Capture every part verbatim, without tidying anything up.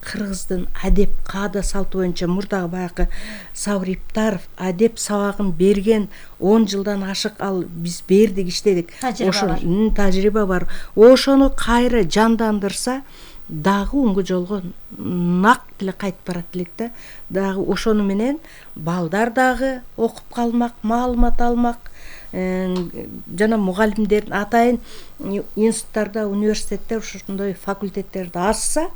кыргыздын адеп каада салты боюнча мурдагы баягы Сабыр Иптаров адеп сабагын берген он жылдан ашык ал биз бердик, иштедик. Ошо тажрыйба бар. Ошону кайра жандандырса дагы оңго жолго нак эле кайтып барат элек да. Дагы ошону менен балдар дагы окуп калмак, маалымат алмак. Жана мугалимдердин атайын институттарда, университетте ушундай факультеттерди ачса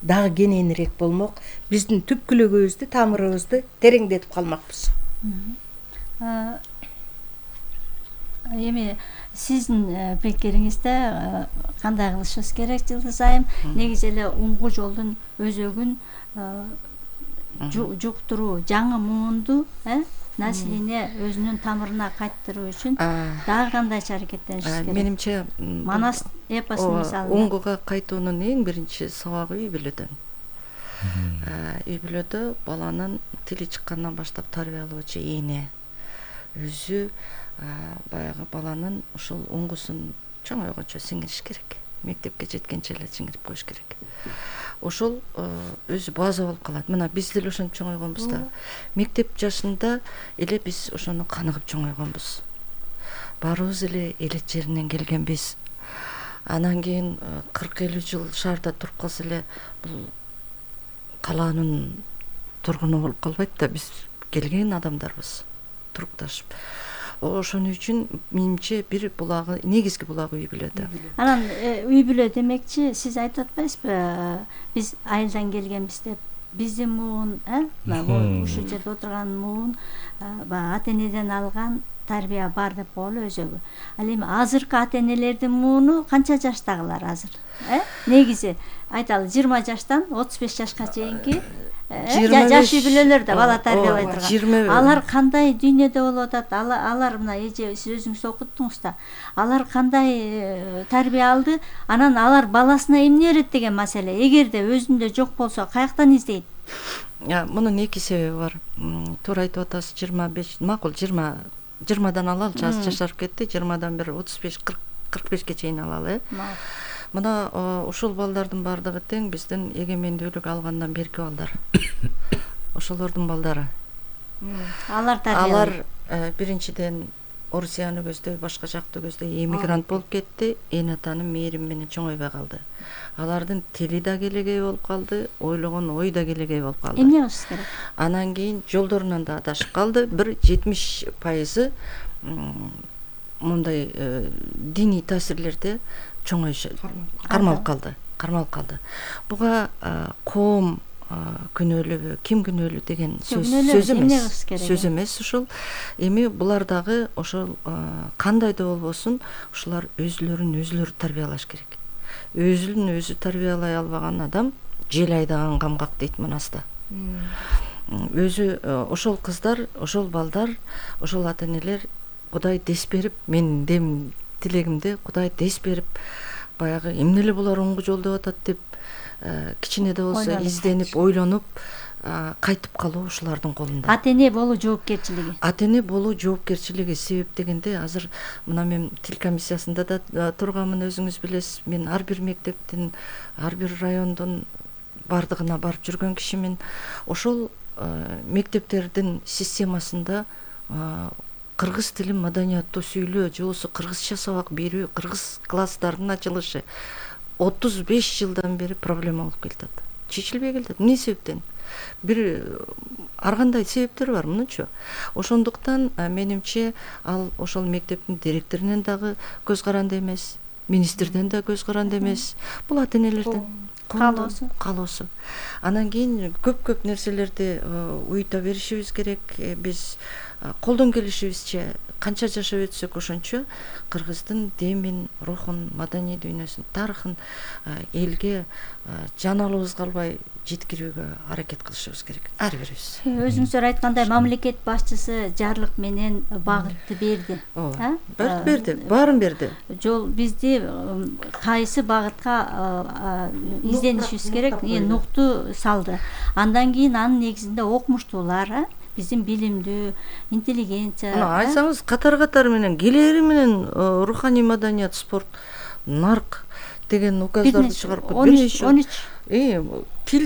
дагы кененирээк болмок. Биздин түпкүлүгүбүздү, тамырыбызды тереңдетип калмакпыз. Эми сиздин пикириңизде кандай кылышыбыз керек Жылдыз айым? Негизи эле оңго жолдун өзөгүн жуктуруу, жаңы муунду, э, население өзүнүн тамырына кайттыруу үчүн дагы кандайча аракеттенишибиз керек? Менимче Манас эпосун мисалы оңгого кайтуунун эң биринчи сабагы үй бүлөдөн. Үй бүлөдө баланын тили чыккандан баштап тарбиялоочу эне өзү баягы баланын ушул оңгусун чоңойгончо сиңириш керек. Мектепке жеткенче эле сиңирип коюш керек. Ошол өзү база болуп калат. Мына биз деле ошентип чоңойгонбуз да. Мектеп жашында эле биз ошону каныгып чоңойгонбуз. Баарыбыз эле элет жеринен келгенбиз. Анан кийин кырк элүү жыл шаарда туруп калса эле бул калаанын тургуну болуп калбайт да. Биз келген адамдарбыз, турукташып. Ошон үчүн менимче бир булагы, негизги булагы үй бүлөдө. Анан үй бүлө демекчи, сиз айтып атпайсызбы? Биз айылдан келгенбиз деп. Биздин муун, э, ушул жерде отурган муун баягы ата-энеден алган тарбия бар деп коелу өзөгү. Ал эми азыркы ата-энелердин мууну канча жаштагылар азыр? Э? Негизи айталы жыйырма жаштан отуз беш жашка чейинки жаш үй бүлөлөр да бала тарбиялай турган. Алар кандай дүйнөдө болуп атат? Алар мына эже сиз өзүңүз окуттуңуз да. Алар кандай тарбия алды? Анан алар баласына эмне берет деген маселе. Эгерде өзүндө жок болсо, каяктан издейт? Мунун эки себеби бар. Туура айтып атасыз, жыйырма беш, макул жыйырма жыйырмадан алалы, жаш жашарып кетти, жыйырмадан бери отуз беш кырк бешке чейин алалы, э. Мына ушул балдардын баардыгы тең биздин эгемендүүлүк алгандан берки балдар. Ошолордун балдары. Алар тарбия. Алар биринчиден Орусияны көздөй, башка жакты көздөй эмигрант болуп кетти, эн атанын мээрими менен чоңойбой калды. Алардын тили да келегей болуп калды, ойлогон ой да келегей болуп калды. Эмне кылыш керек? Анан кийин жолдорунан да адашып калды. Бир жетимиш пайызы мындай диний таасирлерде чоңойуш кармалып калды, кармалып калды. Буга коом күнөөлүүбү, ким күнөөлүү деген сөз эмес. Сөз эмес ушул. Эми булар дагы ошол кандай да болбосун, ушулар өзүлөрүн өзүлөрү тарбиялаш керек. Өзүн өзү тарбиялай албаган адам жел айдаган камгак дейт Манаста. Өзү ошол кыздар, ошол балдар, ошол ата-энелер Кудай дес берип, менин дем тилегимде Кудай дес берип, баягы эмне эле булар оңго жолдо атат деп кичине да болсо изденип, ойлонуп кайтып калуу ушулардын колунда. Ата-эне болуу жоопкерчилиги. Ата-эне болуу жоопкерчилиги себеп дегенде азыр мына мен тил комиссиясында да турганмын, өзүңүз билесиз. Мен ар бир мектептин, ар бир райондун бардыгына барып жүргөн кишимин. Ошол мектептердин системасында кыргыз тилин маданияттуу сүйлөө же болбосо кыргызча сабак берүү, кыргыз класстарынын ачылышы отуз беш жылдан бери проблема болуп келатат. Чечилбей келатат. Эмне себептен? Бир ар кандай себептер бар, мынча. Ошондуктан менимче ал ошол мектептин директорунан дагы көз каранды эмес, министрден да көз каранды эмес. Бул ата-энелердин каалоосу. Каалоосу. Анан кийин көп-көп нерселерди уюта беришибиз керек. Биз колдон келишибизче канча жашап өтсөк ошончо кыргыздын демин, рухун, маданий дүйнөсүн, тарыхын элге жаналыбыз калбай жеткирүүгө аракет кылышыбыз керек. Ар бирибиз. Өзүңүздөр айткандай мамлекет башчысы жарлык менен багытты берди. Багыт берди, баарын берди. Жол бизди кайсы багытка изденишибиз керек, нукту салды. Андан кийин анын негизинде окумуштуулар, биздин билимдүү, интеллигенция. Айтсаңыз катар-катар менен келери менен руханий маданият, спорт, нарк деген указдарды чыгарып он үч